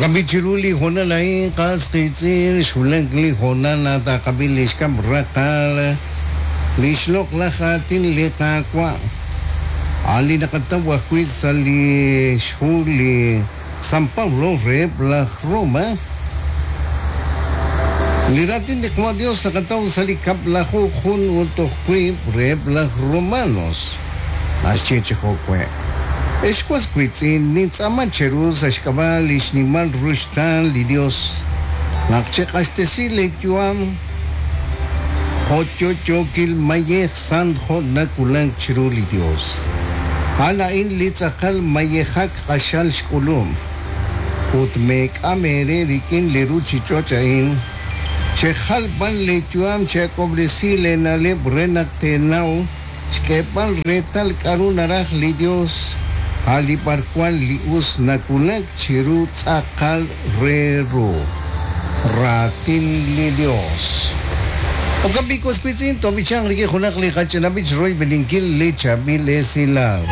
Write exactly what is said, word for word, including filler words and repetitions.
Jo'kan b'i' chiru li hoonal a'in qas qiitz'in xwulak li hoonal naq taqab'i li xkab' raqal li xloq'laj aatin li Qaawa', a'an li naqataw ajwi' sa' li xhu li San Pablo reheb' laj Roma. Li raatin li Qaawa' Dios naqataw sa' li kab'laju jun ut toj wiib' reheb' laj Romanos. Naxye chi jo'we': Ex was wiitz'in, nintz'aama cheru sa' xk'ab'a' li xnimal ruxtaan li Dios naq cheq'axtesi leeyu'am jo' yo'yookil mayej sant jo' nawulak chiru li Dios. A'an a'in li tz'aqal mayejak q'axal xk'ulum. Ut meek'am eere rik'in li ruuchich'och' a'in, chejal b'an leeyu'am cheak'ob'resi leena'leb' re naq teenaw xk'eeb'al reetal k'a'ru naraj li Dios, a' li b'arwan li us nawulak chiru tz'aqal re ru. Raatin li Dios. Jo'kan b'i' was wiitz'in, toob'ichanq rik'in junaq li qach'ina b'ich royb'eninkil li chaab'il esilal.